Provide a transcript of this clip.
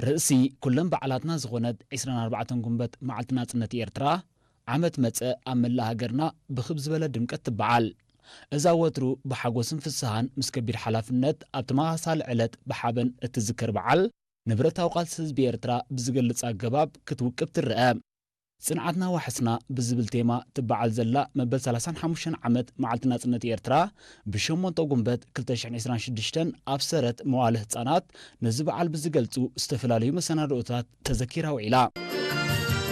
ርእሲ ኩለን በዓላትና ዝኾነት ዕስራን ኣርባዕተን ጉንበት መዓልቲ ናጽነት ኤርትራ ዓመት መጸ ኣብ መላእ ሃገርና ብኽብ ዝበለ ድምቀት ትበዓል። እዛ ወትሩ ብሓጎስን ፍስሃን ምስ ከቢድ ሓላፍነት ኣብ ተመሳሳሊ ዕለት ብሓበን እትዝከር በዓል፣ ንብረታዊ ቃልሲ ህዝቢ ኤርትራ ብዝገልጽ ኣገባብ ክትውቅብ ትረአ። ጽንዓትና ዋሕስና ብዝብል ቴማ ትበዓል ዘላ መበል ሰላሳን ሓሙሽተን ዓመት መዓልቲ ናጽነት ኤርትራ፣ ብሸሞንተ ጉንበት ክልተ ሽሕን ዕስራን ሽዱሽተን ኣብ ሰረት መዋለ ህጻናት ነዚ በዓል ብዝገልጹ ዝተፈላለዩ መሰናድኦታት ተዘኪራ ውዒላ።